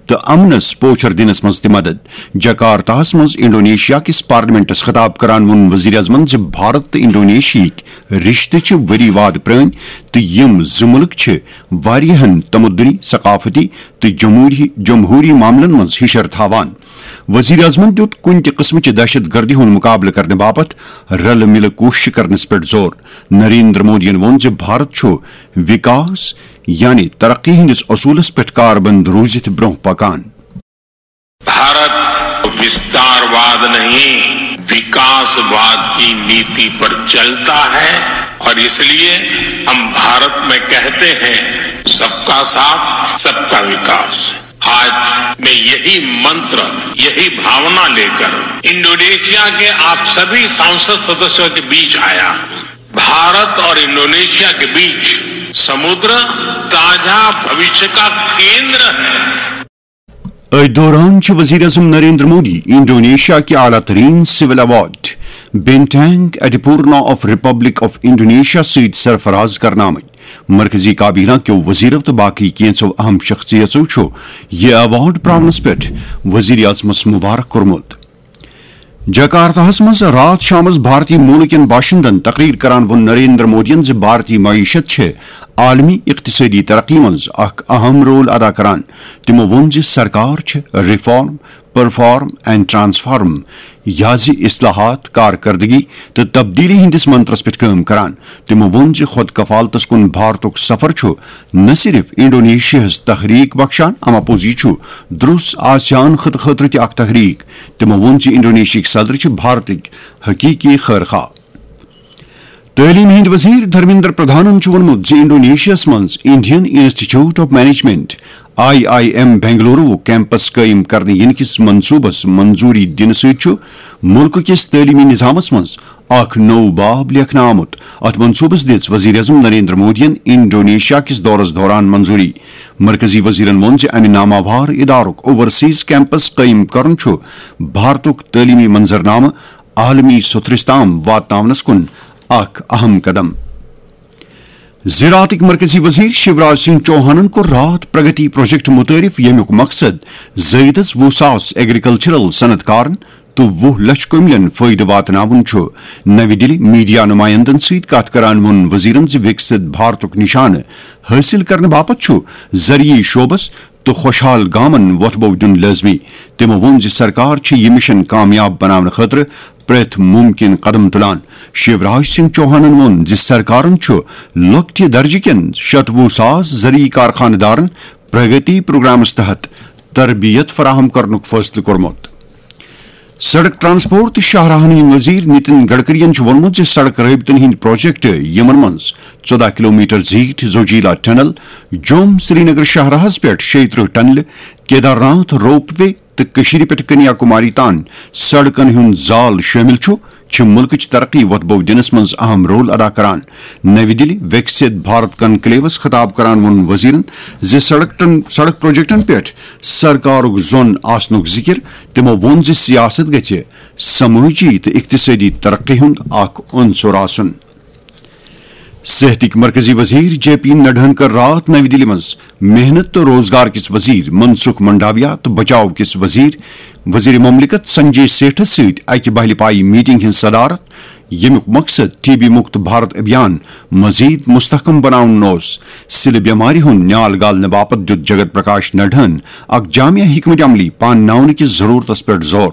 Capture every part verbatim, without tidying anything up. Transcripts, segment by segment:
تہٕ امنس پوچھر دِنس منٛز تہِ مدد۔ جکارتاہس منٛز انڈونیشیا کِس پارلیمنٹس خطاب کران ووٚن وزیر اعظمن زِ بھارت تہٕ انڈونیشیاہٕکۍ رشتہٕ چھِ ؤری واد پرٲنۍ تہٕ یِم زٕ مُلک چھِ واریاہن تمدنی، ثقافتی تہٕ جمہوری، جمہوری معاملن منٛز ہشر تھاوان۔ وزیر اعظمن دیُت کُنہِ تہِ قٕسمٕچہِ دہشت گردی ہُنٛد مقابلہٕ کرنہٕ باپتھ رلہٕ مِلہٕ کوٗششہٕ کرنس پٮ۪ٹھ زور۔ نریندر مودیَن ووٚن زِ بھارت چھُ وِکاس، یعنی ترقی ہٕنٛدِس اصوٗلس پٮ۪ٹھ کاربند روٗزِتھ برٛونٛہہ پکان۔ भारत विस्तारवाद नहीं, विकासवाद की नीति पर चलता है और इसलिए हम भारत में कहते हैं, सबका साथ, सबका विकास। आज मैं यही मंत्र, यही भावना लेकर इंडोनेशिया के आप सभी सांसद सदस्यों के बीच आया हूं। भारत और इंडोनेशिया के बीच समुद्र ताजा भविष्य का केंद्र है। أتھۍ دوران چھِ وزیر اعظم نریندر مودی انڈونیشیا کہِ اعلیٰ ترین civil award Bintang Adipurna of republic of Indonesia سۭتۍ سرفراز کرنہٕ آمٕتۍ۔ مرکزی کابینہ کیو وزیرو تہٕ باقی کینٛژو اہم شخصیژو چھُ یہِ ایوارڈ پراونس پٮ۪ٹھ وزیر اعظمس مبارک کوٚرمُت۔ جکارتاہس منٛز راتھ شامس بھارتی موٗلہٕ کٮ۪ن باشندن تقریر کران ووٚن نریندر مودیَن زِ بھارتی معیشت چھِ عالمی اقتصٲدی ترقی منٛز اکھ اہم رول ادا کران۔ تِمو ووٚن زِ سرکار چھِ ریفارم، پرفارم اینڈ ٹرانسفارم، یازِ اصلاحات، کارکردگی تہٕ تبدیلی ہٕنٛدِس منترس پٮ۪ٹھ کٲم کران۔ تِمو ووٚن زِ خود کفالتس کُن بھارتُک سفر چھُ نہ صرف انڈونیشیاہس تحریک بخشان، امہ پوٚز یہِ چھُ درس آسیان خطہٕ خٲطرٕ تہِ اکھ تحریک۔ تِمو ووٚن زِ انڈونیشیاہٕکۍ صدر چھِ بھارتٕکۍ حقیقی خیر خواہ۔ تعلیٖم ہٕنٛدۍ وزیر دھرمیندر پردھانن چھُ ووٚنمُت زِ انڈونیشیاہس منٛز Indian institute of management, I I M Bengaluru campus قٲیِم کرنہٕ یِنہٕ کِس منصوبس منظوری دِنہٕ سۭتۍ چھُ مُلکہٕ کِس تعلیٖمی نظامس منٛز اکھ نوٚو باب لیکھنہٕ آمُت۔ اتھ منصوبس دِژ وزیر اعظم نریندر مودیَن انڈونیشیا کِس دورس دوران منظوری۔ مرکزی وزیرن ووٚن زِ امہِ ناماوار ادارُک اوورسیز کیمپس قٲیِم کرُن چھُ بھارتُک تعلیٖمی منظرنامہٕ عالمی سوٚتھرِس تام واتناونس کُن اکھ اہم قدم۔ زراعتٕکۍ مرکزی وزیر شیوراج سنگھ چوہانن کوٚر راتھ پرگتی پروجیکٹ متعارف، ییٚمیُک مقصد زٲیدس وُہ ساس ایگریکلچرل صنعت کارن تہٕ وُہ لچھ کٔملٮ۪ن فٲیدٕ واتناوُن چھُ۔ نَوِ دِلہِ میڈیا نُمایندن سۭتۍ کتھ کران ووٚن وزیرن زِ وِکسِت بھارتُک نِشانہٕ حٲصِل کرنہٕ باپتھ چھُ زرعی شعبس تہٕ خۄشحال گامن وۄتھٕ بو دیُن لٲزمی۔ تِمو ووٚن زِ سرکار چھِ یہِ مِشن کامیاب بناونہٕ خٲطرٕ پرٛٮ۪تھ مُمکِن قدم تُلان۔ شیوراج سنگھ چوہانن ووٚن زِ سرکارن چھُ لۄکٹہِ درجہٕ کٮ۪ن شتوُہ ساس زرعی کارخانہٕ دارن پرگتی پروگرامس تحت تربیت فراہم کرنُک فٲصلہٕ کوٚرمُت۔ سڑک ٹرانسپورٹ تہٕ شاہراہن ہٕنٛدۍ وزیر نتن گڈکرین چھُ ووٚنمُت زِ سڑک رٲبطن ہٕنٛدۍ پروجیکٹ، یِمن منٛز ژۄداہ کلومیٹر زیٖٹھ زوجیلا ٹنل، جوم سرینگر شاہراہس پٮ۪ٹھ شیٚیہِ ترٕٛہ ٹنلہٕ، کیدارناتھ روپ وے تہٕ کٔشیٖرِ پٮ۪ٹھ کنیا کماری تام سڑکن ہُنٛد زال شٲمِل چھُ، چھِ مُلکٕچ ترقی وۄتھٕ بو دِنس منٛز اہم رول ادا کران۔ نَوِ دِلہِ وِکسِت بھارت کنکلیوس خطاب کران ووٚن وزیرن زِ سڑکن، سڑک پروجیکٹن پٮ۪ٹھ سرکارُک زون آسنُک ذِکِر۔ تِمو ووٚن زِ سیاست گژھِ سمٲجی تہٕ اقتصٲدی ترقی ہُنٛد اکھ عنصر آسُن۔ صحتٕکۍ مرکزی وزیر جے پی نڈاہن کٔر راتھ نَوِ دِلہِ منٛز محنت تہٕ روزگار کِس وزیر منسکھ منڈاویا تہٕ بچاو کِس وزیر، وزیر مملکت سنجے سیٹھس سۭتۍ اکہِ بہلہِ پایہِ میٹنگ ہٕنٛز صدارت، ییٚمیُک مقصد ٹی بی مُکت بھارت ابھیان مزید مستحکم بناوُن اوس۔ سِلہٕ بٮ۪مارِ ہُنٛد نیال گالنہٕ باپتھ دیُت جگت پرکاش نڈاہن اکھ جامع حکمت عملی پانناونہٕ کِس ضروٗرتس پٮ۪ٹھ زور۔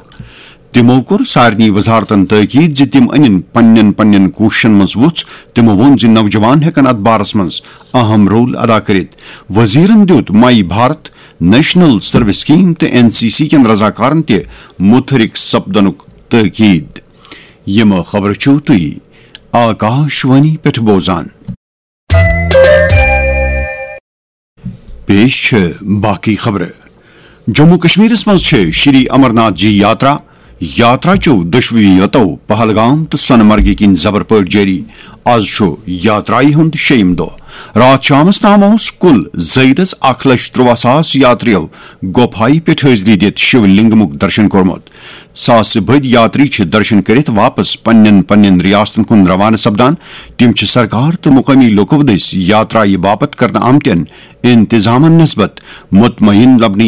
تِمو کوٚر سارنٕے وزارتن تٲکید زِ تِم أنِن پننٮ۪ن پننٮ۪ن کوٗششن منٛز وُژھ۔ تِمو ووٚن زِ نوجوان ہٮ۪کن اتھ بارس منٛز اہم رول ادا کٔرِتھ۔ وزیرن دیُت مائی بھارت، نیشنل سروس سکیم تہٕ این سی سی کٮ۪ن رضاکارن تہِ متحرک سپدنُک تٲکید۔ یِم خبرٕ چھِو تُہۍ آکاش وانی پٮ۪ٹھ بوزان۔ پیش چھِ باقی خبرٕ۔ جموں کشمیرس منٛز چھِ شری امرناتھ جی یاترا، یاترا چیو دۄشوٕے یتو پہلگام تہٕ سۄنہٕ مرگہِ کِنۍ زبر پٲٹھۍ جٲری۔ از چھُ یاترایہِ ہُنٛد شیٚیِم دۄہ۔ راتھ شامس تام اوس کُل زٲیدس اکھ لچھ ترٛواہ ساس یاتریو گۄپھایہِ پٮ۪ٹھ حٲضری دِتھ شِو لنگمُک درشن کوٚرمُت۔ ساسہٕ بٔدۍ یاتری چھِ درشن کٔرِتھ واپس پننٮ۪ن پننٮ۪ن ریاستن کُن روانہٕ سپدان۔ تِم چھِ سرکار تہٕ مقٲمی لوٗکو دٔسۍ یاترایہِ باپتھ کرنہٕ آمتٮ۪ن انتظامن نسبت مطمئن لبنہٕ